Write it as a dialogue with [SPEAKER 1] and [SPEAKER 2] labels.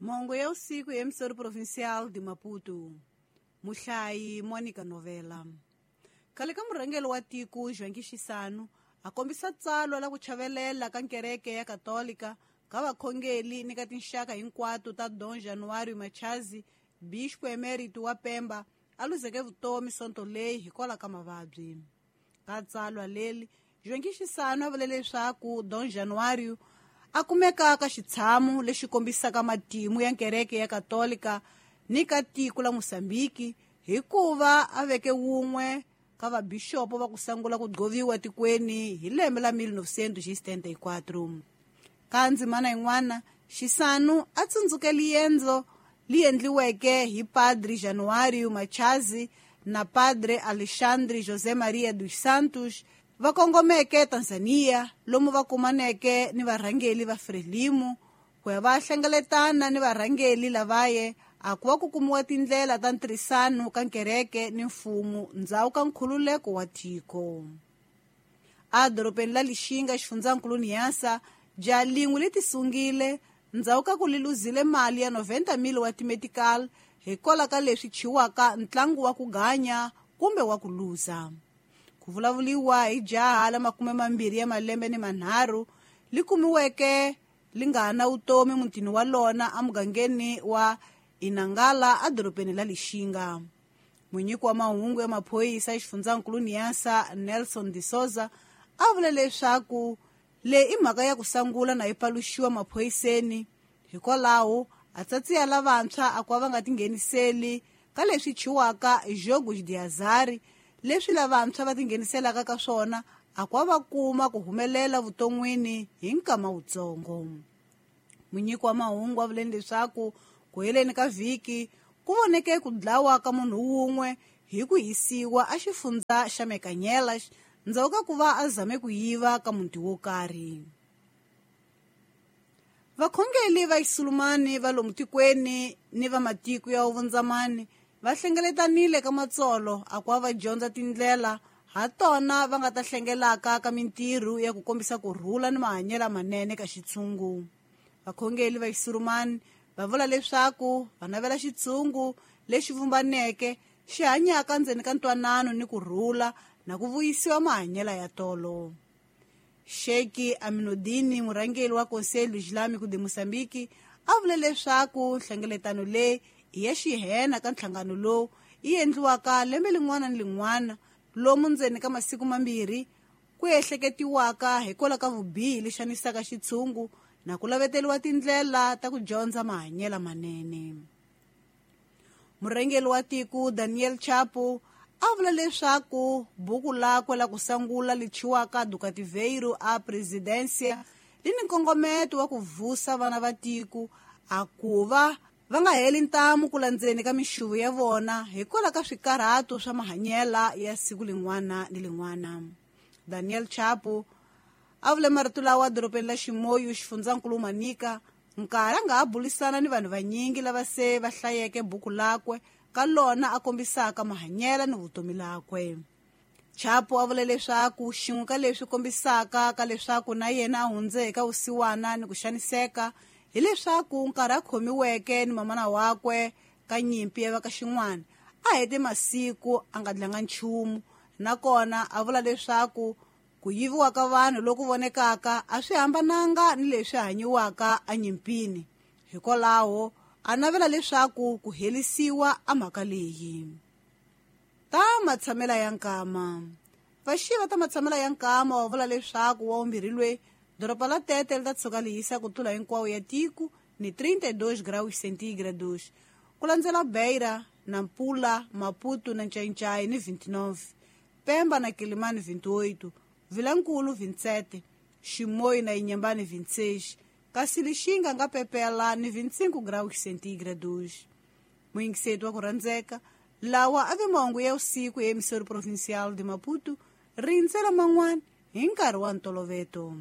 [SPEAKER 1] Mongo ya usiku ya emissora provincial de Maputo. Muhlayi Monica Novela. Khale ka murhangeri wa tiko Joaquim Chissano a kombisa tsalwa la ku chavelela ka nkereke ya Katolika ka vakhongeli ni ka tinxaka hinkwato ta Dom Januário Machazi, bispo emérito wa Pemba, a luzeke vutomi sonto leyi hikwalaho ka mavabyi. Ka tsalwa leri, Joaquim Chissano a vule leswaku Dom Januário a kumeka ka xitshamo lexi kombisaka matimu ya nkereke ya Katolika ni ka tiko la Mosambiki hikuva a veke wun'we ka vabixopo va ku sungula ku gqoviwa tikweni hi lembe la 1974. Ka ndzimana yin'wana, Chissano a tsundzuke liendzo li endliweke hi Padre Januário Machazi na Padre Alexandre José Maria dos Santos va kongomeke Tanzania lomu va kumaneke ni varhangeli va Frelimo ku ya va hlengeletana ni varhangeli lavaye a ku va ku kumiwa tindlela ta ntirhisano ka nkereke ni mfumo ndzhaku ka nkhululeko wa tiko. A dorobeni la Lixinga xifundzankulu Niassa, jaha lin'we li tisungile ndzhaku ka ku li luzile mali ya 90,000 wa timetical hikwalaho ka leswi chiwaka ntlangu wa ku ganya kumbe wa ku luza. Ku vulavuliwa hi jaha la 23 li kumiweke li nga na vutomi mutini wa lona emugangeni wa Inangala edorobeni la Lixinga. Munyiki wa mahungu ya maphorisa exifundzankulu Niassa, Nelson de Souza, a vule leswaku leyi i mhaka ya ku sungula na yi paluxiwa maphoriseni, hikwalaho a tsatsiya lavantshwa a ku va nga tingheniseli ka leswi chiwaka jogos de azar, leswi lavantshwa va tingheniselaka ka swona a ku va kuma ku humelela vuton'wini hi nkama wutsongo. Munyiki wa mahungu a vuleni leswaku ku heleni ka vhiki ku voneke ku dlawa ka munhu wun'we hi ku hisiwa a xifundza xa Mekanyelas ndzhaku ka ku va a zame ku yiva ka muti wo karhi. Vakhongeli va Xisulumani va lomu tikweni ni va matiko ya vundzamani va hlengeletanile ka matsolo a ku va dyondza tindlela ha tona va nga ta hlengelaka ka mintirho ya ku kombisa ku rhula ni mahanyelo manene ka xitshungu. Vakhongeli va Xisurumani va vula leswaku va navela xitshungu lexi vumbaneke xi hanyaka ndzeni ka ntwanano ni ku rhula na ku vuyisiwa mahanyelo ya tolo. Sheikh Aminudini, murhangeri wa Conselho Islâmico de Moçambique, a vule leswaku nhlengeletano leyi i ya xihena ka nhlangano lowu yi endliwaka lembe lin'wana ni lin'wana lomu ndzeni ka masiku mambirhi ku ehleketiwaka hikwalaho ka vubihi lexi xanisaka xitshungu na ku laveteriwa tindlela ta ku dyondza mahanyelo manene. Murhangeri wa tiko Daniel Chapo a vula leswaku buku lakwe la ku sungula li chiwaka Do Cativeiro a Presidência li ni nkongometo wa ku vusa vana va tiko a ku va va nga heli ntamu ku landzeni ka mixuvo ya vona hikwalaho ka swikarhato swa mahanyelo ya siku lin'wana ni lin'wana. Daniel Chapo a vule marito lawa dorobeni la Ximoyo xifundzankulu Manica nkarhi a nga ha bulisana ni vanhu vanyingi lava se va hlayeke buku lakwe ka lona a kombisaka mahanyelo ni vutomi lakwe. Chapo a vule leswaku xin'we ka leswi kombisaka ka leswaku na yena a hundze eka vusiwana ni ku xaniseka hileswaku nkarhi a khomiweke ni mamana wakwe ka nyimpi ya va ka xin'wana a hete masiku a nga dlanga nchumu, nakona a vula leswaku ku yiviwa ka vanhu loku vonekaka a swi hambananga ni leswi hanyiwaka enyimpini, hikwalaho a navela leswaku ku helisiwa a mhaka leyi. Ta matshamela ya nkama. Vaxiva ta matshamela ya nkama va vula leswaku wa vumbirhi lweyi doroba la Tete li ta tshuka li hisa ku tlula hinkwawo ya tiko ni 32 graus centígrados, ku landzela Beira, Nampula, Maputo na Ncaincaí ni 29, Pemba na Quelimane 28, Vilankulu 27, Chimoio na Inhambane 26, kasi Lixinga nga pepela ni 25 graus centígrados. Muyingiseti wa ku rhandzeka, lawa a ve mahungu ya usiku ya emissora provincial de Maputo, rindzela man'wana hi nkarhi wa ntoloveto.